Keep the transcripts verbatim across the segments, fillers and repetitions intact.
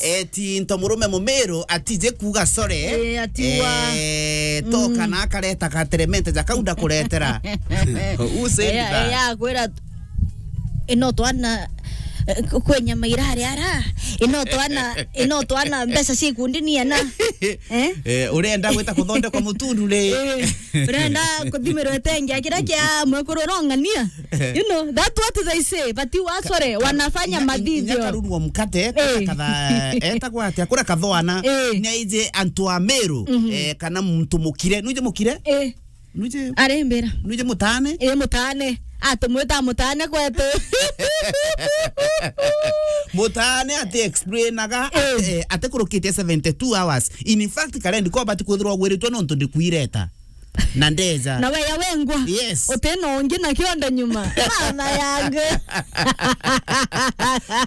Eti nto murume mumiru atije kuuga sore. Eh, atiwa. Eh, to Mm. kana akareta ka tremendous ja kau ndakuretera. Who said Eh, that? Eh, akwira ino twana, eh, kwe nyama irari ara, ino twana, ino twana mbeca cia ikundi ni ana. Eh? Eh, urenda gwita kuthondekwa mutundu ri? Eh, urenda kuthimirwa itengia kiria kia mwekuru urong'ania? You know, that's what they say, but you are sorry, wanafanya Inya, inya, inya mathithio. Karurua mkate, Eh. Katha-, etagwa atia? Kura kathoana. Eh. Ni aije antu a Meru, Mhm. eh, kana muntu mukire. Nuje mukire? Eh. Nuje, Arembera. Nuje mutane? Eh, mutane. Atumwita mutane kwetu. Mutane ati explainaga, Eh. ati, eh, ati kurukitie seventy-two hours. In fact, Karendi ko bati kwithirwa ugwiritwe nontu ndikwireta. Na ndeja. Na weya wengwa. Yes. Utena ungi na kionda nyuma. Mama yangu.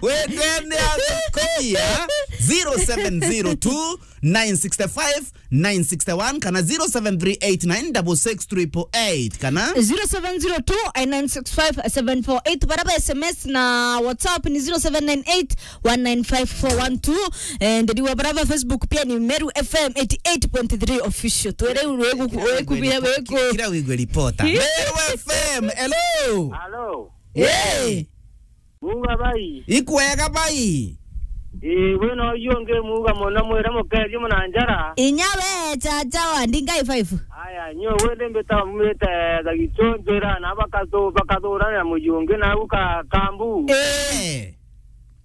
Wendene athukubia zero seven zero two, nine six five, nine six one kana zero seven three eight nine six six triple eight kana zero seven zero two, nine six five, seven four eight. Baraba S M S na WhatsApp ni zero seven nine eight, one nine five four one two. Eh, ndiriwa baraba Facebook pia ni Meru F M eighty eight point three official. Twere wegu, wegu bia wegu. Kira wigwe reporter. Meru F M, hello. Hello. Hey. Muuga bai. Ikwega bai. Ii, we no yu ungi muuga mono, mwire mukeethie muna njara. Inya we, chacha wa Ndingai five. Aya, nyo wende mbita mwite Gagichonjera na bakathu-, bakathurana muji ungi na uka Kambu. Eh.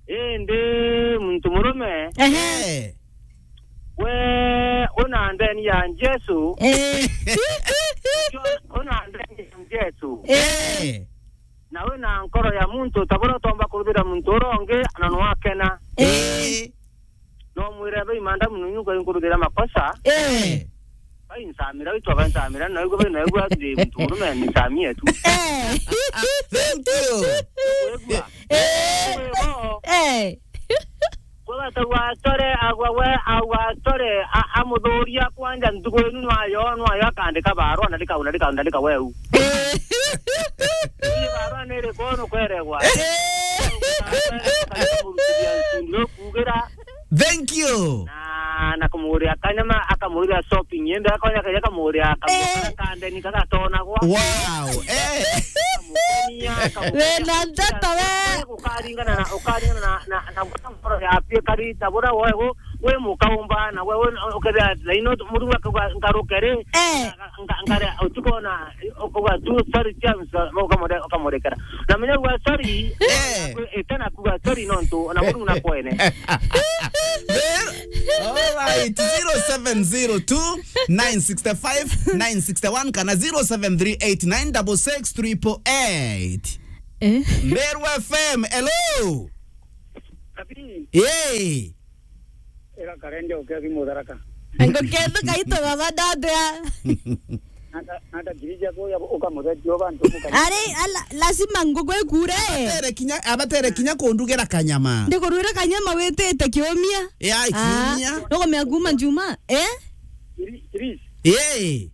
Indi muntu murume. Ehe. Eh. We una ndeni ya Jesu. Eh. Una ndeni ya Jesu. Eh. Na wina nkoro ya muntu, ta buria utomba kuruthira muntu uria ungi, na nwakena. Eh. No mwire, "Bai, madam, nunyu nkuruthira makosa." Eh. Bai, nsamira, witwa bai, nsamira, na igwe bai, na igwe ati muntu murume, nisamie tu. Eh. Thank you. Wigua? Eh. Wigua? Eh. Kwega tau atore, agwa we, agwa atore, a-, amuthuria kwanja ntuku inu nwayo, nwayo akandika barua, ndandika, ndandika, ndandika weu. Eh. Ii barua ni iriku nukweregwa? Eh. Ndiro kuugira. Thank you. Na, na kumuria kanyama, akamuria shopping, yende akonya kaja kamuria, kamuria Eh. kandeni kagatonagwa. Wow. Eh. Kamukonia, kamukonia. Wena ndeto we. Ukaringana na, ukaringana na, na, na, na ngoro yaku ikari ta buria we gu-, wi mukaumba, na we, we ukethira thaino Murungu akauga ngarukere, Eh. nga-, nga-, ngare utukona, ukauga tu, "Sorry, James," ukamure-, ukamurekera. Na menya uga, "Sorry," Eh. ite na kuga, "Sorry," nontu ona Murungu nakwene. All right, zero seven zero two, nine six five, nine six one kana zero seven three eight nine six six triple eight. Eh? Meru F M, hello. Kabi. Hey. Ira karende ukethi mutharaka. Ngukethuka itu baba ndandea. Nata, nata kirija ko ya ukamuthetia bantu muka. Ari, ala, lazima ngukwe kure. Abatere kinya, abatere kinya kundugera kanyama. Ndikurwira kanyama witite kiumia. Ya, Ah, kiumia. Nukumea kuma njuma, eh? Kiri, kiri. Eh.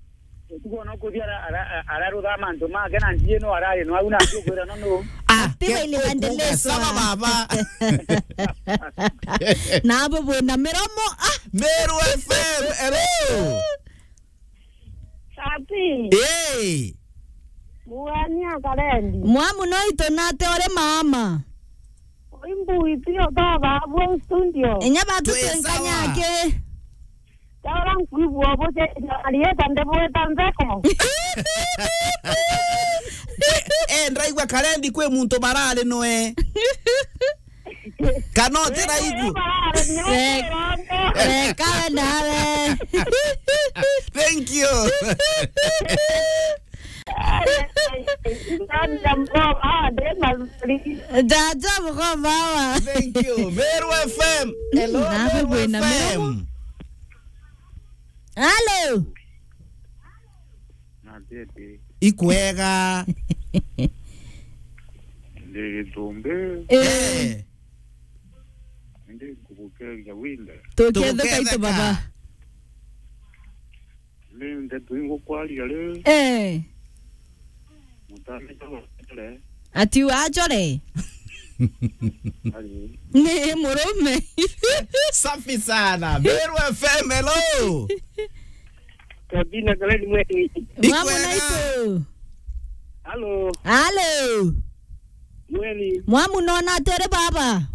Utuko no kuthia ara, ara, ara, ararutha mantu make na njie no arari no au na kwira no no. Ah, Ati ke-, baini ku-, bandeleso, kuga sawa ah. Baba. Nabo bwina miromo, ah. Meru F M, hello. Ati. Hey. Muania Karendi. Mwamu no ito nate ore mama. Imbu itio baba abo studio. Inya batu Twi sawa. Twenkanyake. Taura nkwigua bucenjia arieta ndibwita ntheko. Eh, eh, ndaigua Karendi kwi muntu barari noe. Kana utiraigua? Barari noe. Re-, reka we nawe. Thank you. Jaja mkoba hawa. Thank you. Meru F M. Hello, Nawe Meru wina F M. Miromo. Hello. Natete. Ikwega. Ndi Gitumbi. Eh. Eh. Ndi kubukeria winda. Tukethuka itu Tuketheka. Baba. Ni ndeto ingukwaria ri. Eh. Mutane jabo chore. Ati wachore? Ni murume. Safi sana. Meru F M, hello. Kabina Kaleni Mweni. Mwamu Ikwega. Naitu. Halo. Halo. Mweni. Mwamu nona atere baba.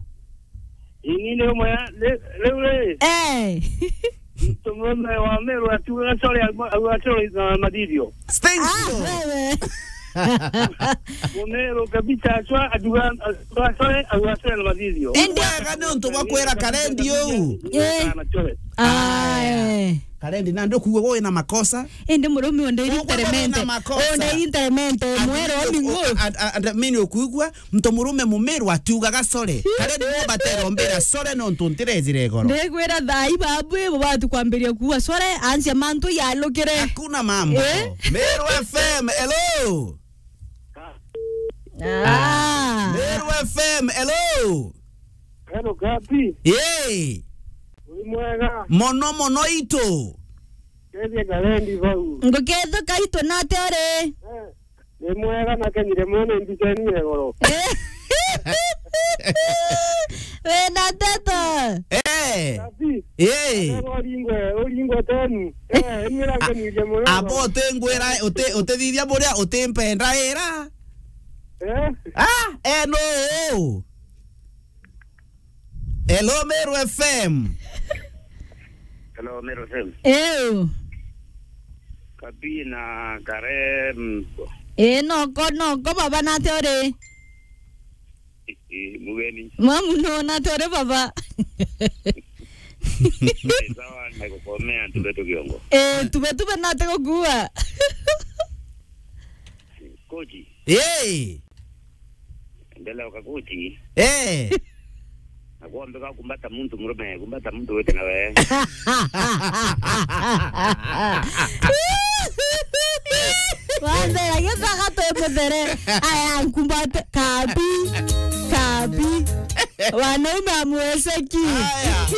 Ini ni umwe ya, le, le, le. Eh. Mtomume wa Meru atuga sore, au atoro na madhivyo. Thank you. Ah, wewe. Mumeru kabisa, achwa, aduga, aduga, sorry, aduga, sorry, na mathithio. Indi wega ni untu bwa kwira Karendi uu. Eh. Sana, sorry. Aya. Aya. Karendi, na ndukuga wina makosa. Indi murume onde interamente. Onde interamente, mwero ni ngo. And, and, and, mini ukuigua, mtu murume mumeru atiugaga sorry. Karendi no batero mbira sorry no untu ntirejire igoro. Ndigwira thai babu, ibo batu kwambiria kuwa sorry, ansia mantu yalukire. Hakuna mambo. Eh? Meru F M, hello. Ah. Meru F M, hello. Hello, Gabi. Yee. Uri mwega? Mono, mono itu. Kethia Karendi vau. Ngukethuka itu nate uri? Eh, ni mwega na kenyire mono mbiceni ya igoro. Eh. Wina nteto? Eh. Gabi. Yee. Ego ringwe, uringwe tenu. Eh, ni range ni je mono. Abo utingwira, uti-, utithithia buria utimpenda ira. Eh? Ah, eh, no. Hello, Meru F M. Hello, Meru F M. Ew. Kabi na Kare, mm. Eh, noko, noko, baba, nate uri? Eh, eh, mugeni. Mwamu, no, nate uri, baba? Eh, sawa, nagukomea, tube tukiongo. Eh, tube, tube, nate gukua. Koji. Hey! Endelea ukakuti. Eh. Na kuombeka kumbata muntu murume, kumbata muntu wete na we. Wambere, githaga twi muthere. Aya, nkumbate, kabi, kabi. Wanaume amweceki. Aya.